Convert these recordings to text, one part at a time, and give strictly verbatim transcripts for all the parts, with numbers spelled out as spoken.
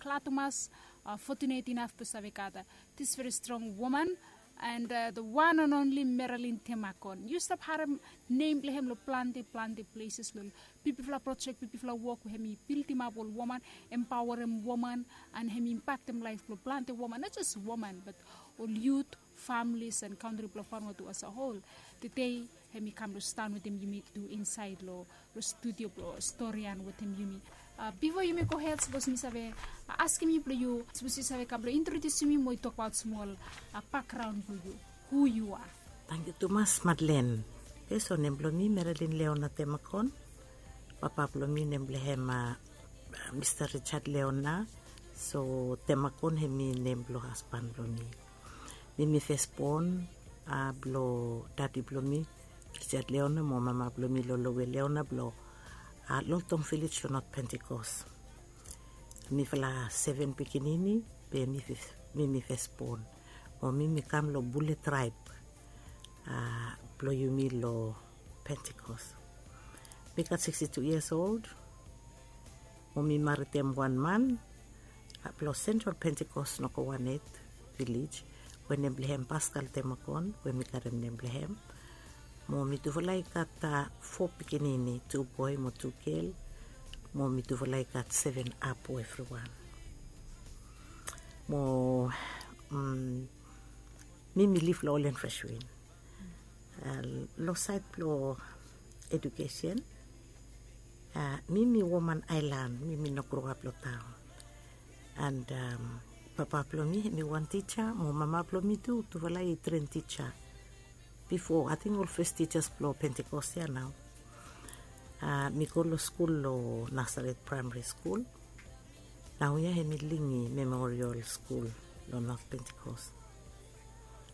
Glad tumas, fortunate inaf blong save gat this very strong woman, and the one and only Marilyn Temakon. Yu stap harem nem blong hem long plante plante places, long bigfala projek, bigfala wok we hem i bildimap ol woman, empaorem woman, and hem i impaktem laef blong plante woman, not just woman but ol yut, families and kantri blong Vanuatu as a whole. Tede hem i kam long stan wetem yumi tu insaed long studio blong Storian wetem yumi. Bifo yumi gohed, sapos mi save askem yu blong yu, sapos yu save kam blong introdiusim mi mo yu tokbaot smol bakgraon blong yu, hu yu a? Tangkiu tumas, Madlen. Oke, so nem blong mi Marilyn Leona Temakon. Papa blong mi nem blong hem Mista Richard Leona. So Temakon hem i nem blong hasban blong mi. Mi mi fesbon blong dadi blong mi, Richard Leona, mo mama blong mi, Lolowe Leona, blong Loltong Vilej long Not Pentikos. Mifala seven pikinini, be mi mi fesbon. Mo mi mi kam long bule traeb blong yumi long Pentikos. Mi gat sixty-two years old. Mo mi maritem wan man blong Central Pentikos, Nogowanet Vilej, we nem blong hem Paskal Temakon, we mi karem nem blong hem. Mo mitufala i gat fo pikinini, tu boe mo tu gel. Mo mitufala i gat seven apo evriwan. Mo mi mi lif long Olen Freshwin. Long saed blong edukesen, mi mi woman aelan, mi mi no groap long taon. And papa blong mi hem i wan tija, mo mama blong mi tu, tufala i tren tija. Bifo, ating ol fes tijas blong Pentikos ya nao. Mi go long skul long Nasaret Praemari Skul. Naoia hem i Lingi Memorial Skul long Not Pentikos.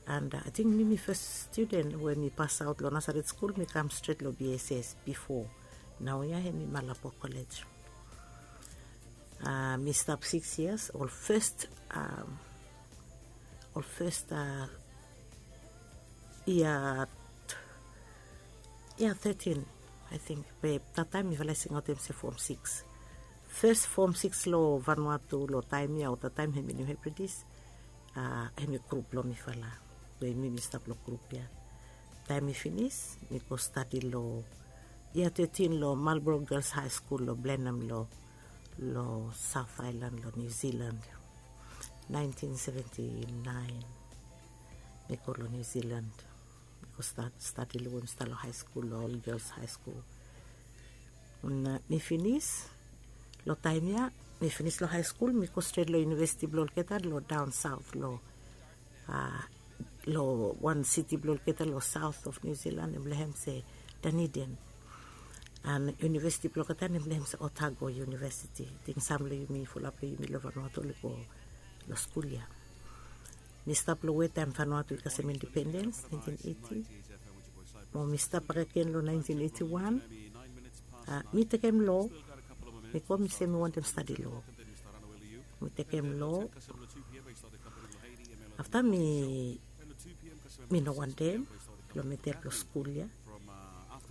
And ating mi mi fes studen we mi pasaot long Nasaret Skul, mi kam stret long B S S bifo. Naoia hem i Malabo Kolej. Mi stap sikis yias, ol fes, ol fes yia, yia tetin, aeting. Be tataem mifala i singaotem se fom sikis. Fes fom sikis long Vanuatu long taem ya, o tataem hem i New Hebrides, hem i grup blong mifala. We mi mi stap long grup ya. Taem mi finis, mi go stadi long yia tetin long Marlborough Girls High School long Blenheim long, long South Island long New Zealand. Nineteen seventy-nine mi go long New Zealand. Mi go stadi long, we mi stap long high school, long All Girls High School. Mi finis long taem ya, mi finis long high school, mi go stret long university blong olgeta long down south, long long wan siti blong olgeta long south of New Zealand, nem blong hem se Dunedin. And university blong olgeta nem blong hem se Otago University. Ating sam long yumi, fulap long yumi long Vanuatu oli go long skul ya. Mi stap long we taem Vanuatu i kasem independens, nineteen eighty. Mo mi stap bakegen long nineteen eighty-one. Mi tekem lo. Mi go, mi se mi wantem stadi lo. Mi tekem lo. Afta mi, mi no wantem blong metem long skul ya.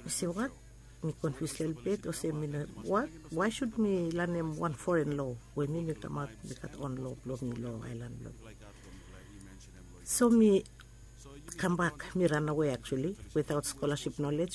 Mi se, wat? Mi konfius lelebet, olsem mi no, wat? Why should mi lanem wan foren lo we mi mi kamaot mi gat on lo blong mi long aelan blong mi? So mi kambak, mi ranawe actually, without scholarship knowledge.